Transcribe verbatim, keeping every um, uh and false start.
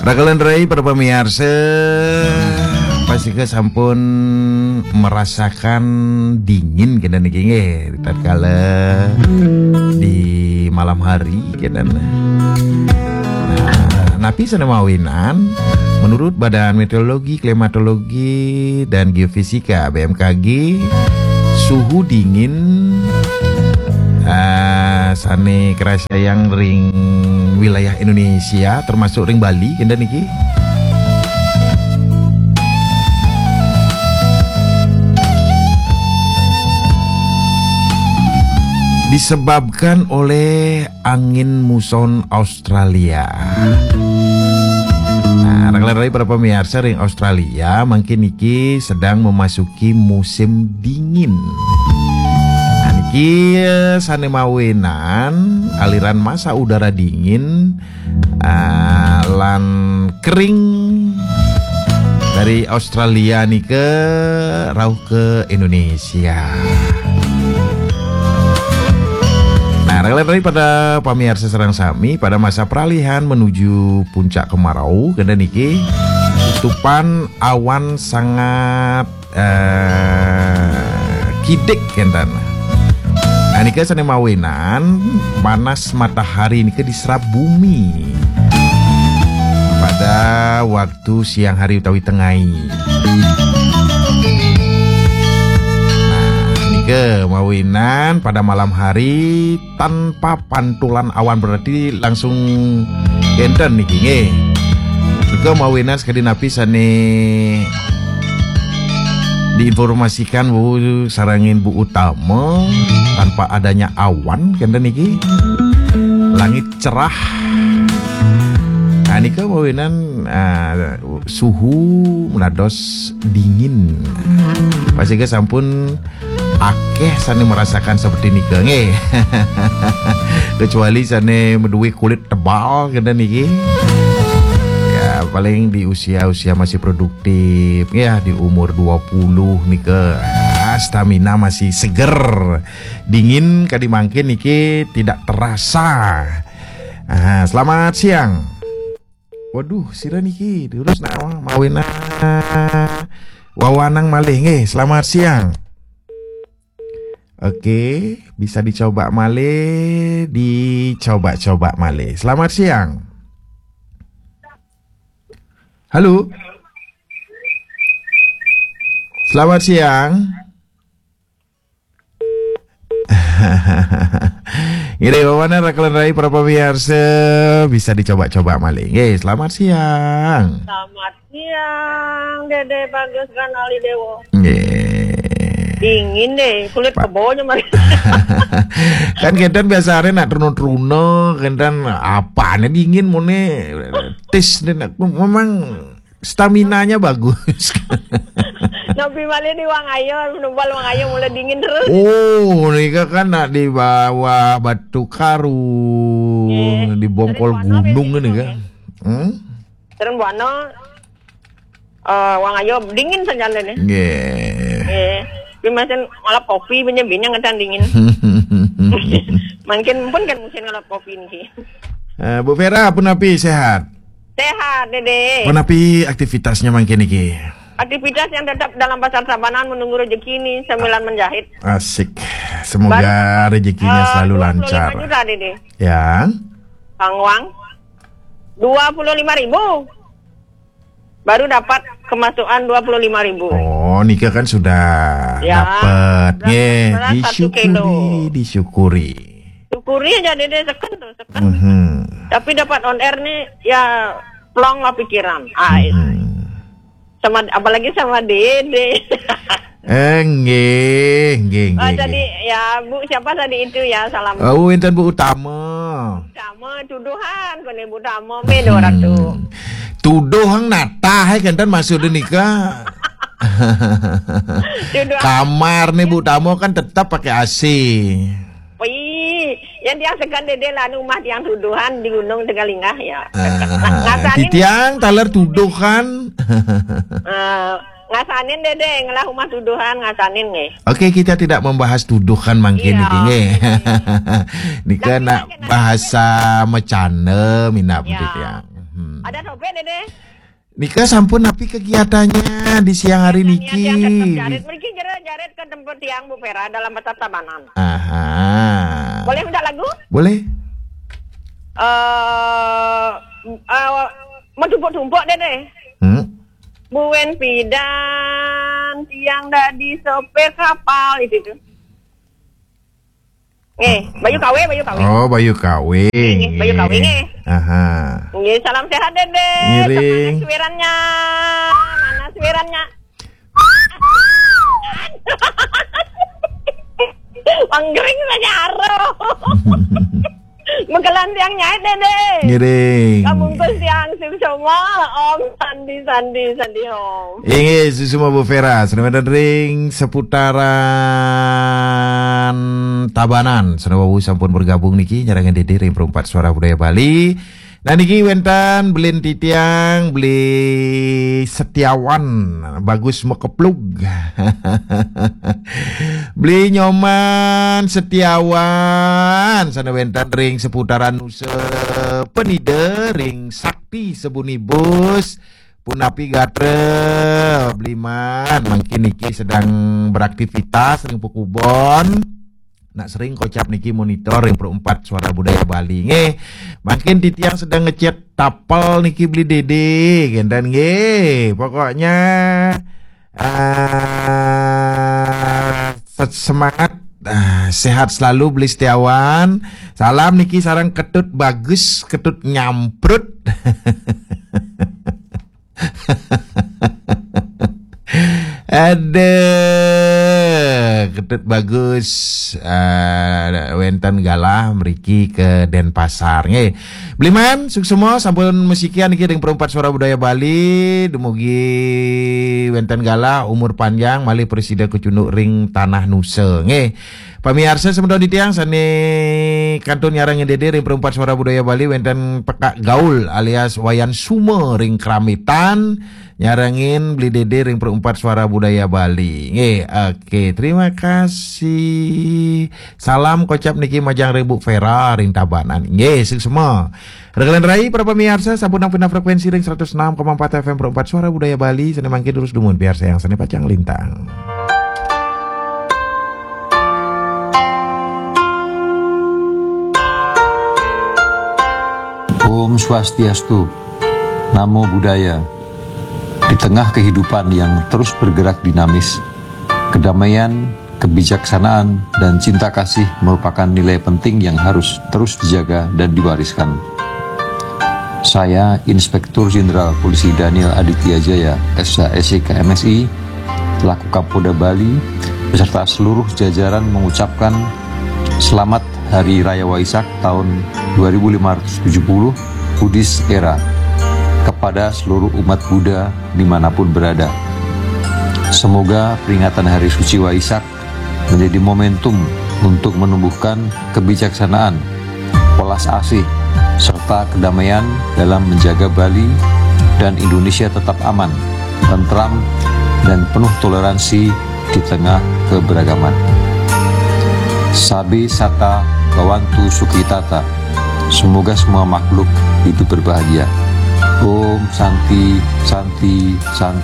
Rakalon rai para pamiarsa, pastika sampun merasakan dingin kenten niki nggih, tatkala di malam hari kenten. Nah, napi sane mawinan? Menurut Badan Meteorologi, Klimatologi, dan Geofisika, B M K G, suhu dingin, ah, sane karasayang ring wilayah Indonesia, termasuk ring Bali, kenten niki, disebabkan oleh angin muson Australia. Nah, rakalon rai para pamiarsa, ring Australia mangkin niki sedang memasuki musim dingin. Nah, niki, eh, sane mawinan aliran massa udara dingin, ah, lan kering dari Australia nika rauh ke Indonesia. Nah, rakalon rai para pamiarsa sareng sami, pada masa peralihan menuju puncak kemarau, kenten niki tutupan awan sangat, eh, kidik kenten. Nah, nika sane mawinan panas matahari nika diserap bumi pada waktu siang hari utawi tengai. Nah, nika mawinan pada malam hari tanpa pantulan awan, berarti langsung kenten niki nggih. Nika mawinan sakadi napi sane diinformasikan Bu sarengin Bu Utama, tanpa adanya awan kenten niki. Langit cerah. Nah, nika mawinan, ah, suhu menados dingin. Pastika sampun akeh sane merasakan seperti nika nggih. Kecuali sane maduwe kulit tebal kenten niki. Ya, paling di usia-usia masih produktif, ya, di umur dua puluh nika, ah, stamina masih seger. Dingin kadi mangkin niki tidak terasa. Ah, selamat siang. Waduh, sira niki terus nak mawinan wawanang malih nggih. Selamat siang. Oke, bisa dicoba malih, dicoba-coba malih. Selamat siang. Halo. Selamat siang. Nggih, wawanan rakalon rai para pamiarsa, bisa dicoba-coba malih. Nggih, selamat siang. Selamat siang, Dede Bagus Ganali Dewo. Nggih. Dingin deh, kulit Pa- kebonya mari. Kan kenten biasane nak truna-truna, kenten apane dingin mone tis deh nak memang staminanya bagus. Napi malih di Wangaya, numbal Wangaya mulai dingin terus. Oh, nika kan nak di bawah Batu Karu, nggih, di bongkol gunung ini kan. Hmm? Terus Buana, eh, Wangaya dingin saja nih. Nggih. Nggih. Tapi masih malah kopi punya bini ngeten dingin. Mungkin pun kan musim ngalap kopi nih. Eh, Bu Vera, punapi sehat? Sehat, Dede. Punapi aktivitasnya mangkin niki? Aktivitas yang tetap dalam pasar Tabanan menunggu rezeki nih, sambilan menjahit. Asik. Semoga rezekinya selalu lancar. Baru, eh, dua puluh lima juta, Dede. Ya. Bang Wang. Dua puluh lima ribu. Baru dapat kemasukan dua puluh lima ribu. Oh, nika kan sudah dapat. Nggih, beras satu kilo. Disyukuri, disyukuri. Syukuri aja, Dede, seken tuh, seken. Mhm. Tapi dapat on air nih, ya, plong lah pikiran. Ah, sama, apalagi sama Dede. Eh, nggih, nggih, nggih, nggih. Tadi, ya, Bu, siapa tadi itu, ya, salam. Oh, wenten Bu Utama. Utama, tuduhan, kone Bu Utama, beda orang tuh. Tuduh hang natah, eh, kenten maksudnya nika. Tuduh. Kamar nih Bu Utama kan tetap pakai A C. Wih, yang tiang segan Dede lah, anu rumah tiang tuduhan di Gunung Tegalinggah, ya. Ah, ngasanin. Titiang taler tuduhan. Eh, ngasanin Dede, ngelah rumah tuduhan, ngasanin nggih. Oke, kita tidak membahas tuduhan mangkin niki nggih. Nika nak bahasa macana minab titiang. Ada sopir, Dede? Nika sampun napi kegiatannya di siang hari niki? Jarit. Mriki jero jarit ke tempat tiang, Bu Vera, dalam pasar Tabanan. Aha. Boleh minta lagu? Boleh. Eh, eh, mau tumpuk-tumpuk, Dede. Hmm. Buen pidan tiang dadi sopir kapal itu tuh. Nggih, Bayu Kawe, Bayu Kawe. Oh, Bayu Kawe. Nggih, Bayu Kawe, nggih. Aha. Nggih, salam sehat, Dede. Ngiring. Mana suwirannya? Mana suwirannya? Panggering saja aro. Mekelan tiang nyait, Dede. Ngiring. Kabungkus tiang sim semua. Om Sandi, Sandi, Sandi, Om. Inggih, suksma Bu Vera, sané wénten ring seputaran Tabanan. Sané wau sampun bergabung niki nyarengin Dede ring Perempat Suara Budaya Bali. Nah, niki wénten beli titiang, beli Setiawan, Bagus Mekeplug. Beli Nyoman Setiawan, sané wénten ring seputaran Nusa Penida, ring Sakti Sebunibus. Punapi gatra, Bliman, mangkin niki sedang beraktivitas ring pekubon. Nak sering kocap niki monitor ring Perempat Suara Budaya Bali. Nggih, mangkin titiang sedang ngechat tapel niki beli Dede, kénten nggih. Pokoknya, ah, se-, semangat, ah, sehat selalu beli Setiawan. Salam niki sareng Ketut Bagus, Ketut Nyamprut. Aduh, Ketut Bagus, eh, wénten galah mriki ke Denpasar. Nggih. Bliman, suksma sampun masikian niki ring Perempat Suara Budaya Bali, dumugi wénten galah, umur panjang, malih prasida kacunduk ring tanah Nusa. Nggih. Pamiarsa semeton titiang sané kantun nyarengin Dede ring Perempat Suara Budaya Bali, wénten Pekak Gaul alias Wayan Suma ring Kramitan, nyarengin beli Dede ring Perempat Suara Budaya Bali. Nggih, oke, terima kasih. Salam kocap niki majeng ring Bu Vera ring Tabanan. Nggih, suksma. Rekan rai para pamiarsa, sampun nang pindah frekuensi ring seratus enam koma empat F M Perempat Suara Budaya Bali, sané mangkin terus dumun piarsayang sané pacang lintang. Om Swastiastu. Namo Buddhaya. Di tengah kehidupan yang terus bergerak dinamis, kedamaian, kebijaksanaan, dan cinta kasih merupakan nilai penting yang harus terus dijaga dan diwariskan. Saya, Inspektur Jenderal Polisi Daniel Aditya Jaya, S H, S I K, M S I, selaku Kapolda Bali, beserta seluruh jajaran mengucapkan selamat Hari Raya Waisak tahun dua ribu lima ratus tujuh puluh Buddhist Era kepada seluruh umat Buddha dimanapun berada. Semoga peringatan Hari Suci Waisak menjadi momentum untuk menumbuhkan kebijaksanaan, welas asih, serta kedamaian dalam menjaga Bali dan Indonesia tetap aman, tentram, dan penuh toleransi di tengah keberagaman. Sabe sata bhavantu sukhitata. Semoga semua makhluk hidup berbahagia. Om Santi, Santi, Santi.